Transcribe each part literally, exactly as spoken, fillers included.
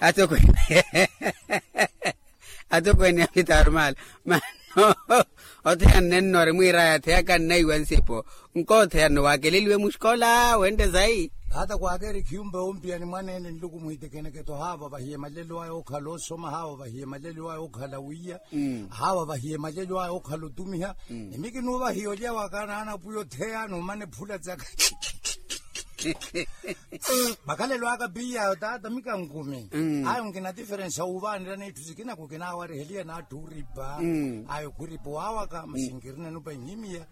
Atokweene atokweene a fitaarumala. Mano otheya nnenno ari mwiiraya atheyaka nnaiwa nsipo. Nkootheya nno waakeleliwe muxikola wente sayi. Hata kwaakeeri khiyumpa yompiyani mwaneene nluku mwiitekeneketo haava vahiye malelo aya okhala osoma haava vahiye malelo aya okhala wiiya. Haava vahiye malelo aya okhala otumiha. Ni mi kinuuvahiya olya waka naana pwiya otheya numane phula tsaka. Makhalelo aka piyayo taata mi kankumi. Ayo nkina tiferensi awuvaanela n'itthu sikina kukinaawariheliya n'atthu oripa. Ayo khuripa owawaka masi nkirina nupa nhimiya.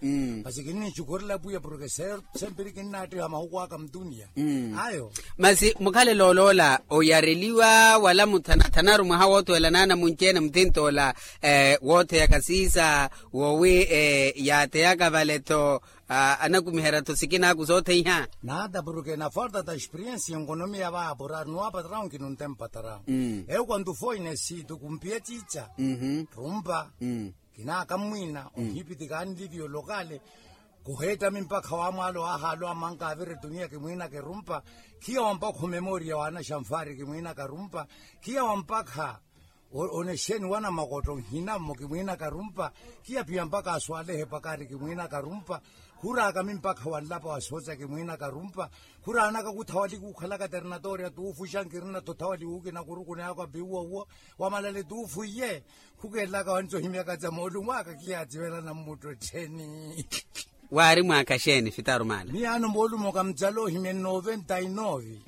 Masi kinnichukhurela pwiya porke sempiri kinnaattiha mahuku aka mutuniya. Ayo masi mukhalelo oloola oyareliwa wala muthanathanaru mwaha woothuwela naana munci-ene mutint'ola. Wootheyaka siisa wowi yaatheyaka vale-tho. Anakumiherya-tho sikinaaku sootheiha. Naata porke naforta ta experiensi enkonomiya vaapuraru nuwaapatarahu nkinunte mpatarahu. Eyo kwantu foine siitu kumpiye ciica. Rumpa kinaaka mmwiina ohipitikaani livio lokale. Kuheettami mpakha waamwaalo ahaalo amanka avira etuniya kimwiinaka erumpa. Khiya wampakha omemoriya waanaxanfaari kimwiinaka rumpa. Khiya wampakha onexeni wanamakootto nhina mmo kimwiinaka rumpa. Khiya phiya mpakha aswaalehe pakari kimwiinaka rumpa. Khuraakami mpakha wanlapa wa sooca kimwiinaka rumpa. Khuraanaka kuthawali kuukhalaka ternatoriya tuufuxa nkirina-tho thawali wuukina kurukuneya aka piwuwa wuwo wamalale tuufwiye. Khukeelaka wancohimyaka ca moolumo aka khiyaaciwelana mmutto ettheni. Waari mwaaka xeeni fitaarumala? Miyaano moolumo kamucala ohimya noventa y nove.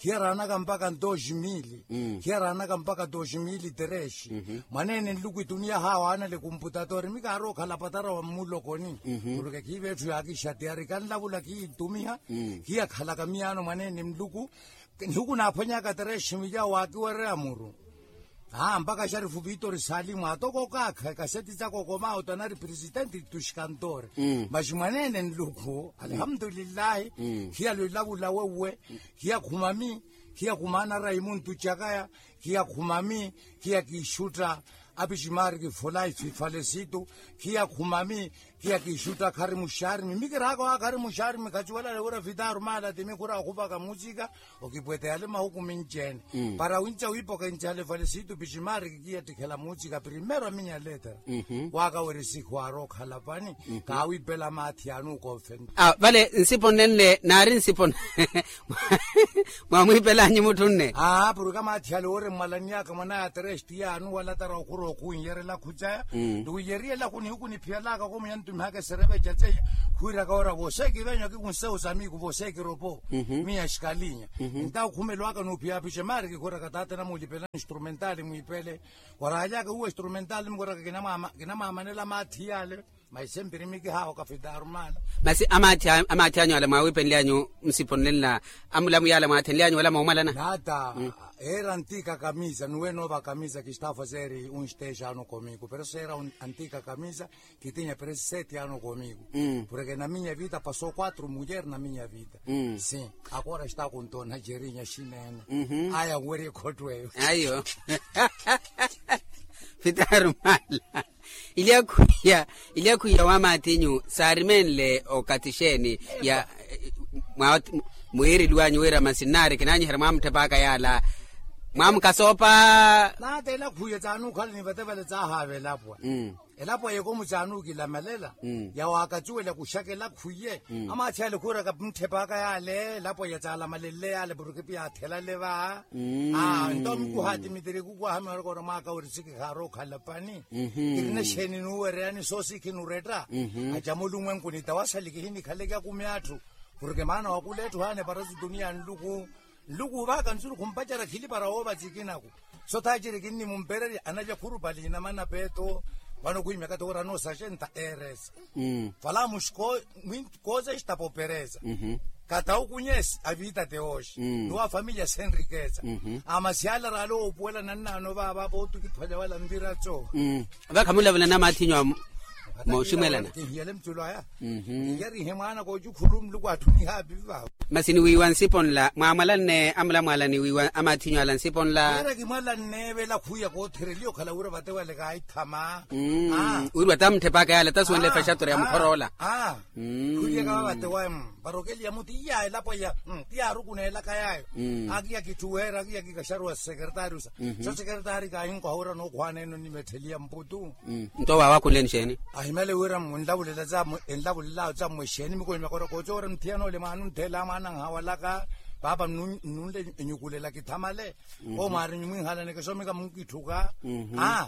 Khiyaraanaka mpaka dos mili. Khiyaraanaka mpaka dos mili tres. Mwaneene nluku etuniya haawaanale kumputatori mi kaarookhala patara wa mmulokoni. Porke khiiva etthu yaakixa tiyari kanlavula khiitumiha. Khiyakhalaka miyaano mwaneene nluku. Nihuku naaphwanyaka tereshi miyawo waakiwereya muru. Aa mpaka xarifu vitori salimu atoko okaakha ekaseti caka okomaawo tanari presidenti tuxikantore. Maxi mwaneene nluku alihamutulillahi. Khiya lwilavula wewwe. Khiya khumami. Khiya khumaana raimuntu cakaya. Khiya khumami. Khiya kiixutta. Apiximaari kifolayi sifalesitu. Khiya khumami. Khiya kiixutta khari muxarimi mi kiraaka owa khari muxarimi khaciwalale wira fitaarumala timi khura okhupaka mucika. Okipwete yale mahuku minci-ene para winca wiipoka inci hale fale siitu piximaari kikiyattikhela muucika primeiro a minya letera. Waaka weri sikhu aarookhala pani. Kaawipela maathi yanuuka ofenta. Vale nsipo nnenle naari nsipo. Mwamwiipelanyu mutthu nne. Aa porke maathi ale wooremmwalaniyaka mwanaya teresti yaanu wala tara okhura okhuwinyerela khucaya. Ni wiyeriye lakhu nihuku niphiyalaka komuya ntumihaka esereveca ceya. Khwiiraka ora voseeki venyu akikunsewu samiku voseeki ropo. Miya xikalinya. Entawo khumelwaka nuuphiyaphixe maari kikhuraka taatena muulipela instrumentali mwiipele. Waraalyaka uwo instrumentali mukhuraka kinamwaamanela maathi yale. Maise mpirimi kihaawo kafitaarumala. Masi amaathi anyu ala mwaawiipenlyanyu nsipo nnenla amulamu yaala mwaathenlyanyu wala moomwalana. Naata. Eera antika kamisa nuwe noova kamisa kistaafa seeri unsteexaano komiku pero seera antika kamisa. Kitinya pero seti ano komiku. Porke naminya vita paso quatro muyer naminya vita. Si. Akora esta kunto na jerinya xinene. Aya weri ekhottweyo. Ayo. Fitaarumala. Ilyakhwiya ilyakhwiya wa maathinyu saarimenle okathi xeeni ya mwiiriliwanyu wira masi nnaari kinaanyiherya mwaamutthepaka yaala. Mwaamukasoopa. Naata elakhwiya tsaanukhala ni vate vale tsaahaava elapwa. Elapwa yekomu tsaanukilamalela. Yawaakacuwela kuxaka elakhwiye. Amaathi ale khuuraka mutthepaka yaale elapwa yatsaalamalenle yaale porke piyathelale va. Nto mikuhaati mitiri kukwahamiwa orokora mwaaka weri sikhi khaarookhala pani. Kirina xeeni nuuwereyani soosi khinuretta. Aca mulumwenkuni tawasali kihinikhaleke akumi atthu. Porke maana wakula etthu haana eparasu tuniya nluku. Nluku ovaaka nzuru khumpacerya khili para woovaci kinaku. Sothaciri kinnimumpererya analya khurupali inamana peeto. Vano khwiimya kata ora noosaxenta eresa. Fala muxi kooza extapopereza. Kata okunyesi avita teoxi nuwa familia senrikeza. Amasiala rale oopuwela nannaano vaava pootukiphwanya wala nviraco. Vakhamulavula namathinyu amu. Mooximwelana. Kinhiyale mtulu aya. Yarihe mwaana koocukhulu muluku atthuniha apivi vawe. Masi niwiiwa nsipo nla mwaamwalanne amulamwala niwiiwa amaathinyu ala nsipo nla. Wira kimwalanne vela khuya koothereliya okhala wira vate wale kaahithama. Wiri watamuthepaka yale tasuwenle efexatura ya mukhoroola. Khuliyaka vavate wa parokeli ya muti iya elapo ya tiyaarukuneelaka yaayo. Akiya kitthuweera akiya kikaxaruwa sekeretari usa. Sa sekeretari kaahinkoha wira nookhwaana eno nimettheliya mputu. Nto waawakhuleni exeeni? Ahimale wira enlavulelaawe tsa mmwe exeeni mikoni makoro koocoora nthiyana ole mwaana ontheela mwaana anhawalaka. Paapa nnunle enyukulela kithamale. Omwaari nyumwihalaneke soomika munkitthuka. Aa.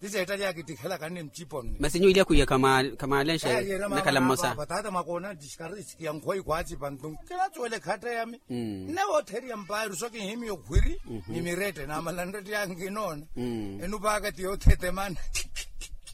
Ti seettali yaakittikhelaka nne mcipo nne. Masi nyuwilya kwiya khamwaalenxe. Nnakhala mmosa. Taata mwakoona ntisikari sikiya nkhweyi khwaacipa ntu nkinacuwela ekhatta yami. Nne wootheriya mpaayi ruso kinhimiya okhwiri. Ni mirette naamala nrette yankinoona. Enupaaka ti yoothetemana.